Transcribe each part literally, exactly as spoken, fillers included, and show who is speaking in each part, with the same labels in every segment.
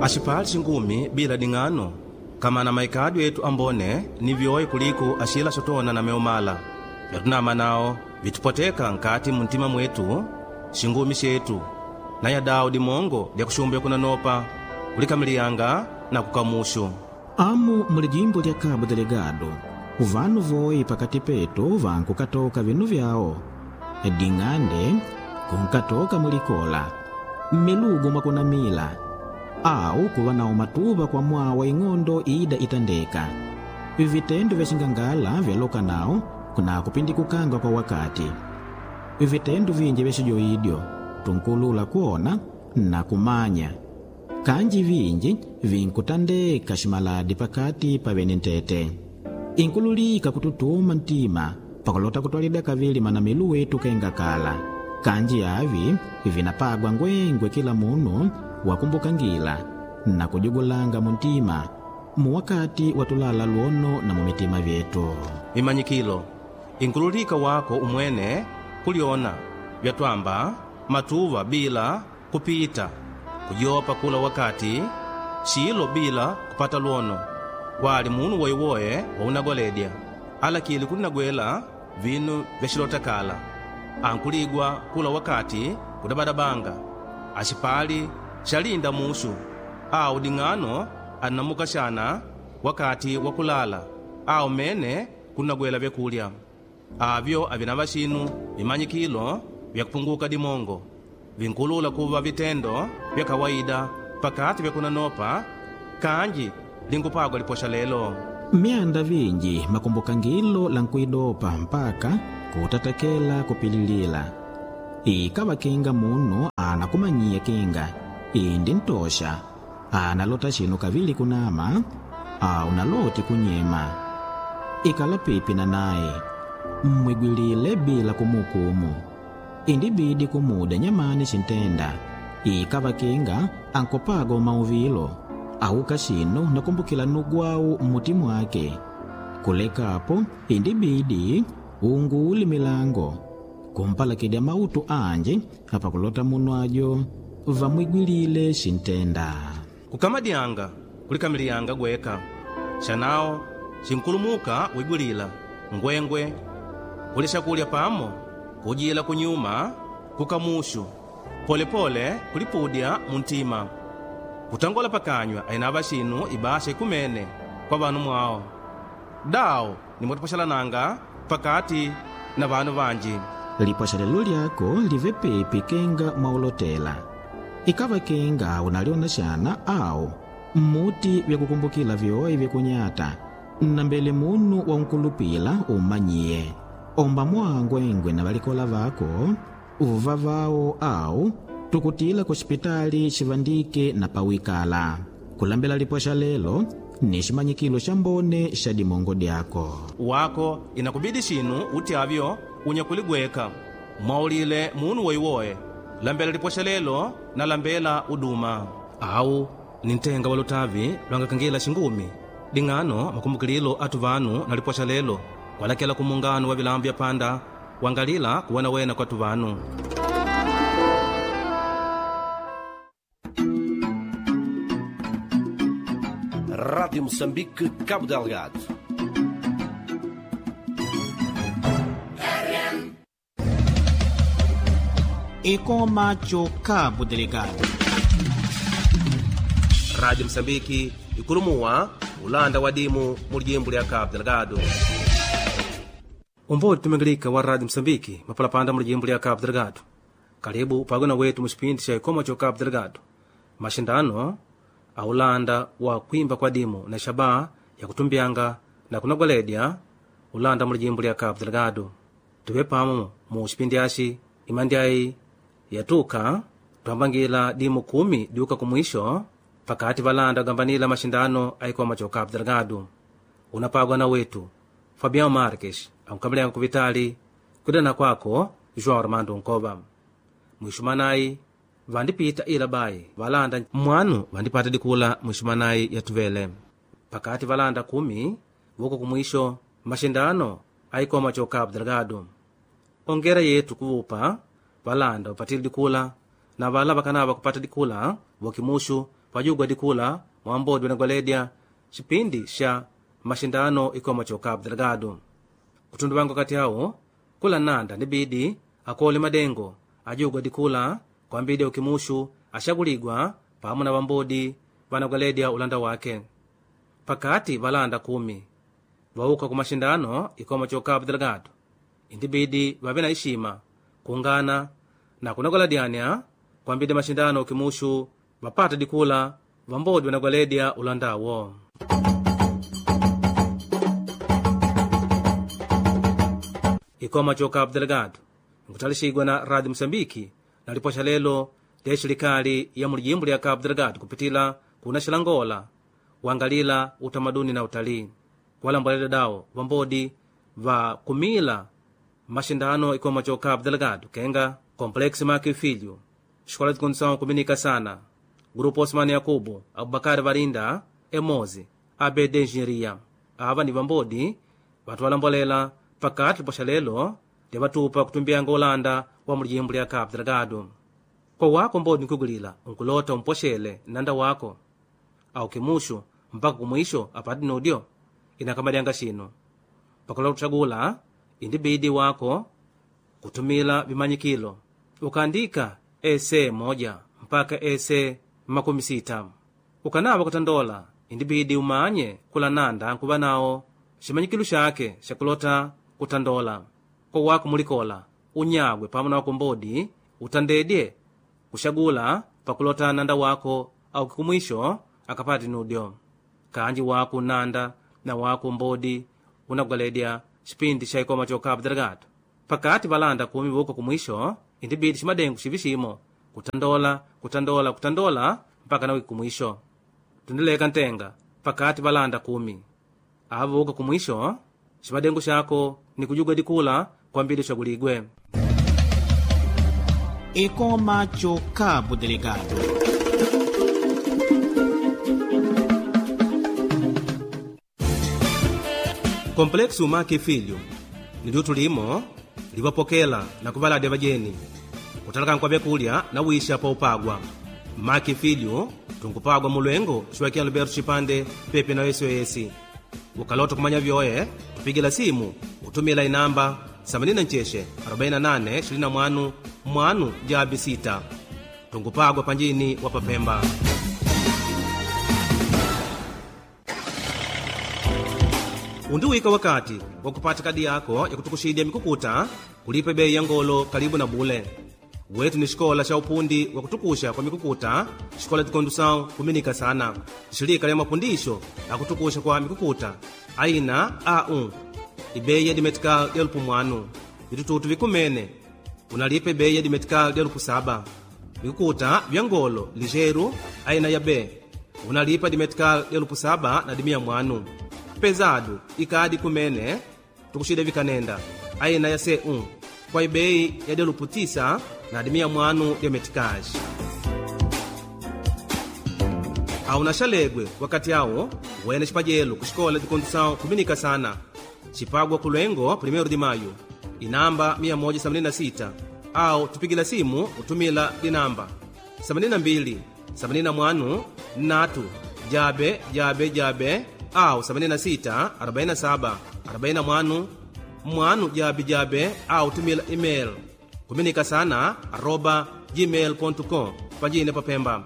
Speaker 1: Axipali xingumi bila ding'ano kama na maikadyo etu ambone ni vyoe kuliko axila xotona na meumala. Vyatunama nao vitupoteka nkati muntima mwetu xingumi xetu na yadao dimongo lya kuxumbya kunanopa kulikamiliyanga na kukamushu.
Speaker 2: Amu muli jimbo lya Cabo Delgado vanu voi pakati petu vankukatoka vinu vyawo ding'ande kunkatoka mulikola mmilugu mwakunamila au kuva nawo matuva kwa mwawa ing'ondo ida itandeka. Vitendo vya xingangala vyaloka nawo kuna kupindikukanga kwa wakati. Vitendo vinji vya xijoidyo tunkulula kuona na kumanya kanji vinji vinkutandeka ximaladi pakati pa vene ntete. Inkululika kututuma ntima pakulota kutwalida kavili manamilu wetu kenga kala. Kanji avi vinapagwa ngwengwe kila munu wakumbukangila na kujugulanga muntima muwakati watulala luono na mumitima vyetu.
Speaker 1: Vimanyikilo inkululika wako umwene kulyona vyatwamba matuva bila kupita kujopa kula wakati xilo bila kupata luono wali munu woewoe waunagoledya alakili kulinagwela vinu vyaxilotakala ankuligwa kula wakati kudabadabanga axipali xalinda muxu awu ding'ano annamukaxana wakati wa kulala awu mene kunagwela vyakulya avyo avinava xinu vimanyikilo vyakupunguka dimongo vinkulula kuva vitendo vya kawaida pakati vyakunanopa kanji linkupagwa liposha lelo.
Speaker 2: Myanda vinji makumbukangilo la nkuidopa mpaka kutatakela kupililila. Ikava kinga munu anakumanyiya kinga indi ntosha analota xinu kavili kunama au naloti kunyema. Ikala pipi na naye mmwigwilile bila kumukumu. Indibidi kumuda nyamani xintenda. Ikava kinga ankopaga umauvilo auka xinu nakumbukila nugwawu mmuti mwake. Kulekapo indibidi unguuli milango kumpalakidya mautu anji apakulota munu ajo vamwigwilile xintenda.
Speaker 1: Kukamadyanga kulikamiliyanga gweka xanao xinkulumuka wigwilila ngwengwe kulya xakulya pamo kujila kunyuma kukamuxu polepole kulipudya muntima kutangola pakanywa ainava xinu ibasha ikumene kwa vanu mwao dao nimwatupaxalananga pakati na vanu vanji.
Speaker 2: Lipoxelelo lyako live pipi kenga mwaulotela. Ikava kenga unaliona xana au mmuti vyakukumbukila vyoe vyakunyata na mbele munu wa nkulupila umanyiye. Omba mwangwengwe na valikola vako uva vao au tukutila kuxipitali xivandike na pawikala. Kulambela liposha lelo ni ximanyikilo xa mbone xa dimongo dyako.
Speaker 1: Wako inakubidi xinu utyavyo unyakuligweka mwaulile munu woiwoe lambela liposha lelo na lambela uduma au ni ntenga wa lutavi lwangakangila xingumi ding'ano makumbukililo atu vanu na liposha lelo kwalakela kumungano wa vilambu vya panda wangalila kuwena wena kwatu vanu.
Speaker 3: Rádio Moçambique, Cabo Delgado.
Speaker 2: Ikoma cho Cabo Delgado.
Speaker 1: Rádio Moçambique ikulumuwa ulanda wa dimu mu lijimbo lya Cabo Delgado. Umbodi tumingilika wa Rádio Moçambique mapalapanda mu lijimbo lya Cabo Delgado. Karibu pagona wetu muxipindi xa ikoma cho Cabo Delgado. Maxindano aulanda wa kwimba kwa dimu na xaba ya kutumbyanga na kunagwaledya ulanda mu lijimbo lya Cabo Delgado. Tuve pamo mu xipindi axi imandyayi yatuka twambangila dimu kumi diuka kumwisho pakati valanda gambanila maxindano aikoma cho Cabo Delgado. Unapagwa na wetu Fabião Marques ankukamilanga kuvitali kudana kwako João Armando Nkova. Mwixumanayi vandipita ila bayi valanda mwanu vandipata dikula mwixumanayi yatuvele pakati valanda kumi vuko kumwisho maxindano aikoma cho Cabo Delgado. Ongera yetu kuvupa valanda vapatile dikula na vala vakanava kupata dikula vokimuxu Vajugwa dikula mwambodi wanagwaledya xipindi xa maxindano ikoma ca Cabo Delgado. Kutundu wangu kati awo kula nanda nibidi akole madengo ajugwa dikula kwambidi ukimushu axaguligwa pamwe na vambodi vanagwaledya ulanda wake. Pakati valanda kumi vauka ku maxindano ikoma ca Cabo Delgado indibidi vave na ixima kungana na kunagwaladyania kwambidi maxindano ukimushu vapata dikula vambodi vanagwaledya ulandawo. Ikoma ca Cabo Delgado nkutalisigwa na Rádio Moçambique na lipoxa lelo lya xilikali ya mulijimbo lya Cabo Delgado kupitila kuna xilangola wangalila utamaduni na utalii kuwalambulela dawo vambodi va kumila maxindano ikoma ca Cabo Delgado kenga Complexo Maki Filho, Escola de Condução Comunica Sana, Grupo Osmani Yakubu, Abubakar Varinda, Emozi, A B D Engenharia. Ava ni vambodi vatuwalambolela pakati lipoxa lelo lya vatupa kutumbianga ulanda wa mulijimbo lya Cabo Delgado. Kwa wako mbodi nkugulila nkulota umpoxele nanda wako au kimuxu mpaka kumwisho apati nudyo inakamadyanga xino pakula kuxagula indibidi wako kutumila vimanyikilo ukaandika ese moja mpaka ese makumi sita. Ukanava kutandola indibidi umanye kula nanda nkuva nawo ximanyikilo xake xakulota kutandola. Kwa wako mulikola unyagwe pamwe na wako mbodi utandedye kuxagula pakulota nanda wako au kikumwisho akapati nudyo. Kanji wako nanda na wako mbodi unagwaledya xipindi xa ikoma ca Cabo Delgado. Pakati valanda kumi vuka kumwisho indibidi ximadengu xivi ximo kutandola kutandola kutandola mpaka nawiki kumwisho. Tundileka ntenga pakati valanda kumi ava vuka kumwisho ximadengu xako ni kujugwa dikula kwambidi xaguligwe.
Speaker 2: Ekoma cho Cabo Delgado.
Speaker 1: Complexo Maki Filho ni liutu limo livapokela na kuvaladya vajeni kutalaka nkwa vyakulya na wisha pa upagwa. Maki Filho tunkupagwa mulwengo xuwakiya Alberto Xipande pepe na S O S. Ukalota kumanya vyoe tupigila simu utumila inamba themanini na nxexe arobaini na nane ishirini na mwanu mwanu jabi sita. Tungupagwa panjini wa Papemba. Undiwika wakati wa kupata kadi yako ya kutukuxidya mikukuta kulipa bei ya ngolo karibu na bule. Wetu ni xikola xa upundi wa kutukuxa kwa mikukuta, xikola de condução kuminika sana, xilika lya mapundixo akutukuxa kwa mikukuta aina A um ibei ya dimetical elupu mwanu vitututu vikumene unalipa ibei ya dimetical elupu saba. Vikukuta vya ngolo ligeiro aina ya B unalipa dimetical elupu saba na dimia mwanu. Pesado ikadi kumene tukuxida vikanenda aina ya C um kwa ibei ya delupu tisa na dimia mwanu ya meticage. Auna xalegwe wakati awo wene xipajelo ku xikola de condução kuminika sana xipagwa ku Lwengo primeiro de Maio inamba mia moja themanini na sita au tupigila simu utumila dinamba themanini na mbili themanini na mwanu natu jabe jabe jabe au themanini na sita arobaini na saba arobaini na mwanu mwanu jabe jabe au tumila email kuminika sana arroba gmail ponto com panjine papemba.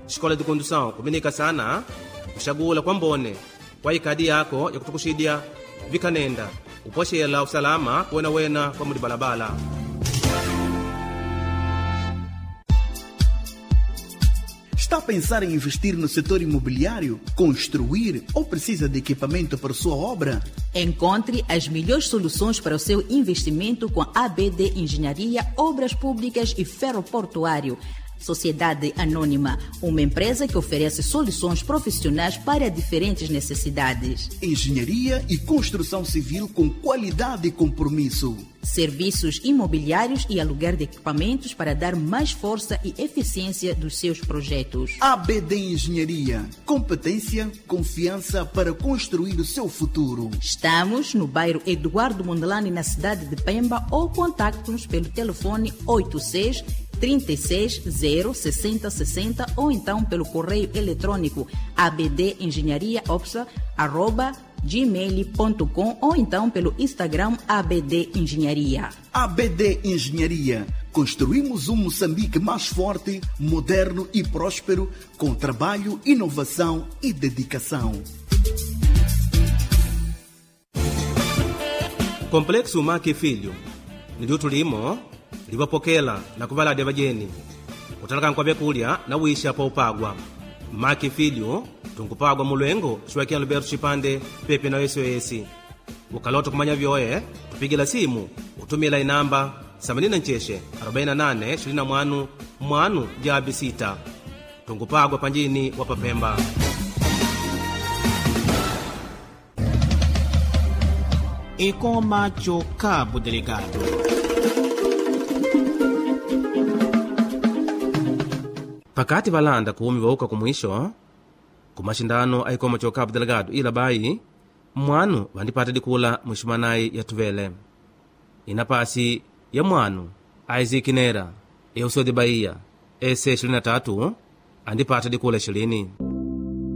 Speaker 1: Xikola de condução kuminika sana kuxagula kwa mbone kwa ikadi yako ya kutukuxidya vikanenda upoxela usalama kuwenawena kwa mudibalabala.
Speaker 4: Está a pensar em investir no setor imobiliário, construir ou precisa de equipamento para sua obra?
Speaker 5: Encontre as melhores soluções para o seu investimento com a A B D Engenharia, Obras Públicas e Ferroportuário. Sociedade Anônima, uma empresa que oferece soluções profissionais para diferentes necessidades.
Speaker 4: Engenharia e construção civil com qualidade e compromisso.
Speaker 5: Serviços imobiliários e aluguer de equipamentos para dar mais força e eficiência dos seus projetos.
Speaker 4: A B D Engenharia, competência, confiança para construir o seu futuro.
Speaker 5: Estamos no bairro Eduardo Mondlane, na cidade de Pemba, ou contacte-nos pelo telefone oito seis trinta e seis zero sessenta sessenta ou então pelo correio eletrônico abdengenhariaopsa arroba gmail ponto com ou então pelo Instagram A B D Engenharia.
Speaker 4: A B D Engenharia. Construímos um Moçambique mais forte, moderno e próspero, com trabalho, inovação e dedicação.
Speaker 1: Complexo Maki Filho niliutu limo livapokela na kuvalada vajeni kutalaka nkwa vyakulya na wisha pa upagwa. Maki Filho tunkupagwa mulwengo xuwakiya Alberto Chipande pepe na S O S. Ukalota kumanya vyoe tupigila simu utumila inamba themanini na ncheshe arobaini na nane ishirini na mwanu mwanu jabi sita. Tungupagwa panjini wa Papemba.
Speaker 2: Ekoma cho Cabo Delegado.
Speaker 1: Pakati valanda kumi vauka kumwisho kumashindano aikoma cho Cabo Delgado ila bayi mwanu vandipata dikula mwiximanayi ya tuvele inapasi ya mwanu Isaac Nera eusode Bahia ese ishirini na tatu andipata dikula ishirini.